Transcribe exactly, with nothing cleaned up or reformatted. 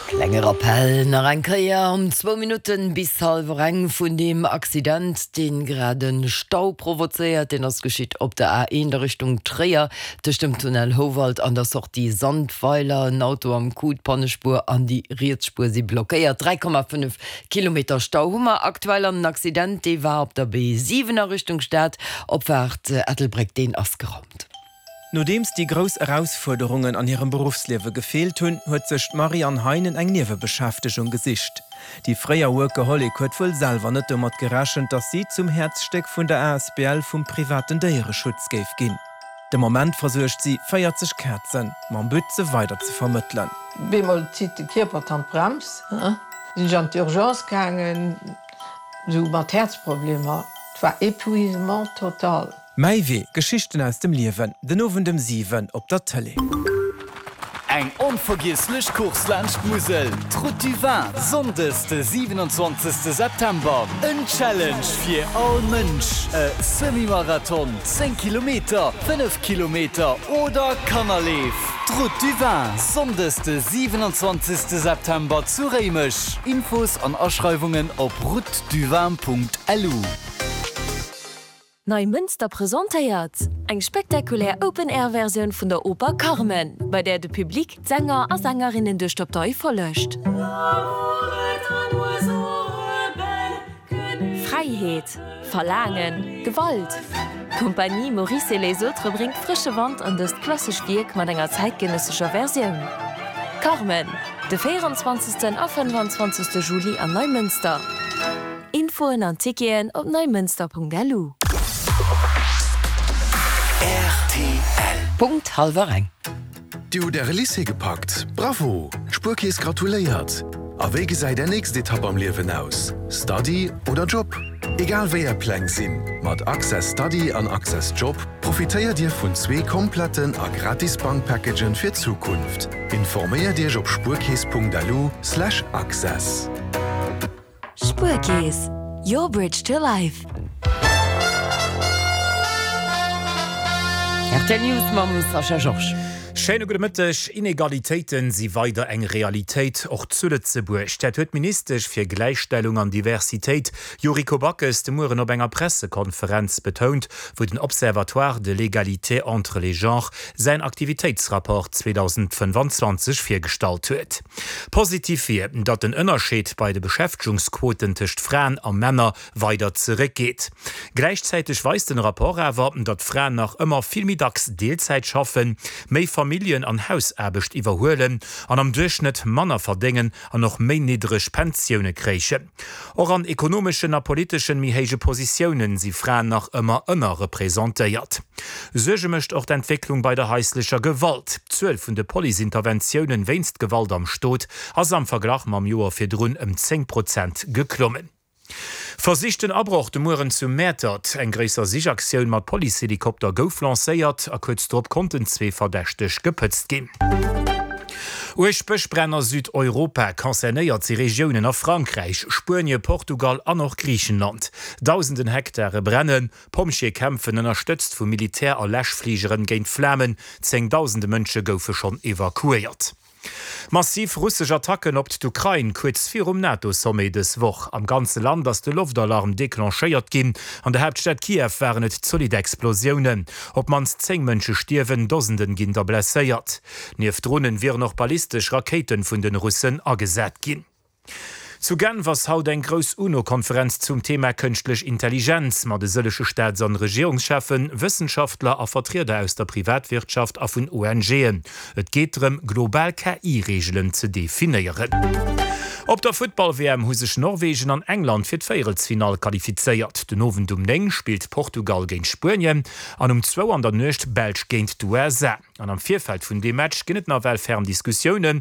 Klenge Rappell nach eng Kéier um zwou Minutten bis hallwer eng vun deem Accident, deen grad e Stau provozéiert. Deen ass geschitt op der A eent a Richtung Tréier, tëscht dem Tunnel Houwald an der Sortie Sandweiler. En Auto am Coup, d'Pannespuer an déi riets Spuer si blockéiert. dräi Komma fënnef Kilometer Stau hu mer aktuell an den Accident, dee war op der B siwen a Richtung Stad, Opfaart Ettelbréck, deen ass geraumt. Nodeems déi grouss Erausfuerderungen an hirem Beruffsliewe gefeelt hunn, huet sech d'Marianne Heinen eng Niewebeschäftegung gesicht. Déi fréier Workaholic huet wuel selwer net domat gerechent, dass si zum Häerzstéck vun der asbl vum privaten Déiereschutz géif ginn. De Moment versuergt si véierzeg Kazen, mam But se weider ze vermëttelen. Bemol zitt de Kierper d'Handbrems, sinn ech an d'Urgence gaangen, sou mat Häerzproblemer, et war épuisement total. Mäi Wee, Geschichten aus dem Liewen, den Owend ëm siwen op der Tëlee. Eng onvergiesslech Course laanscht d'Musel, D'Route du Vin, Sonndes de siwenanzwanzegste September. En Challenge fir all Mënsch, e Semi-Marathon, zéng Kilometer, fënnef Kilometer oder Kannerleef. D'Route du Vin, Sonndes de siwenanzwanzegste September zu Réimech. Infos an Aschreiwungen op routeduvin.lu. Neimënster presentéiert eng spektakulär Open-Air-Versioun vun der Oper Carmen, bei där de Public d'Sänger a Sängerinnen duerch d'Abtei follegt. Fräiheet, Verlaangen, Gewalt, D'Compagnie Maurice et les autres bréngt frësche Wand an dëst klassescht Wierk mat enger zäitgenëssescher Versioun. Carmen, de véieranzwanzegsten a fënnefanzwanzegste Juli an Neimënster. Infoen an Ticketen op neimënster.lu. Rtl. Punkt hallwer eng. Dir hutt Äre Lycée gepackt? Bravo! D'Spuerkeess gratuléiert! A wéi gesäit Är nächst Etapp am Liewen aus? Study oder Job? Egal wéi Är Pläng sinn, mat Access Study an Access Job profitéiert Dir vun zwee kompletten a gratis Bankpackagen fir d'Zukunft. Informéiert Iech op spuerkeess.lu slash access. Spuerkeess, your bridge to life. Rtl News mam Sascha Georges. Schéine gudde Mëtteg. Inegalitéiten si weider eng Realitéit, och zu Lëtzebuerg. Dat huet d'Ministesch fir Gläichstellung an Diversitéit Yuriko Backes de Mueren op enger Pressekonferenz betount, wou den Observatoire de l'égalité entre les genres säin Aktivitéitsrapport zweedausendfënnefanzwanzeg virgestallt huet. Positiv wier, datt den Ënnerscheed bei de Beschäftegungsquoten tëscht Fraen a Männer weider zeréckgeet. Gläichzäiteg weist den Rapport awer, datt Fraen nach ëmmer vill méi dacks Deelzäit schaffen, méi Familljen an Hausaarbecht iwwerhuelen an am Duerchschnëtt manner verdéngen an och méi niddreg Pensioune kréichen. Och an ekonomeschen a politeschen méi héije Positiounen si Fraen nach ëmmer ënnerrepresentéiert. Suerge mécht och d'Entwécklung bei der haislecher Gewalt. D'Zuel vun de Police-Interventiounen wéinst Gewalt am Stot ass am Verglach mam Joer virdrun ëm zéng Prozent geklommen. Versichten Abroch de Mueren zu Mäertert. Eng gréisser Sichaktioun mat Policehelikopter gouf lancéiert a kuerz drop konnten zwee Verdächteg gepëtzt ginn. Uerg Bëschbränn a Südeuropa, Concernéiert si Regiounen a Frankräich, Spuenie, Portugal an och Griichenland. Dausenden Hektare brennen. Pompjeeë kämpfen, ënnerstëtzt vu Militär a Läschfligeren, géint d'Flamen. Zéngdausende Mënsche goufe schonn evakuéiert. Massiv russesch Attacken op d'Ukrain kuerz virum NATO-Sommet dës Woch. Am ganze Land ass de Loftalarm declenchéiert ginn. An der Haaptstad Kiew waren et zolidd Explosiounen. Op d'mannst zéng Mënsche stierwen, Dosenden ginn der blesséiert. Nieft Dronen wieren och ballistesch Rakéite vun den Russen agesat ginn. Zu Genf ass haut eng grouss UNO-Konferenz zum Thema Kënschtlech Intelligenz mat e sëllege Staats an Regierungscheffen, Wëssenschaftler a Vertrieder aus der Privatwirtschaft a vun ONGen. Et geet drëm, global K I-Reegelen ze definéieren. Op der Futtball-W M hu sech Norwegen an England fir d'Véierelsfinall qualifizéiert. Den Owend um néng spillt Portugal géint Spuenien an um zwou an der Nuecht d'Belsch géint d'U S A. An am Virfeld vun deem Match ginn et nawell ferm Diskussiounen.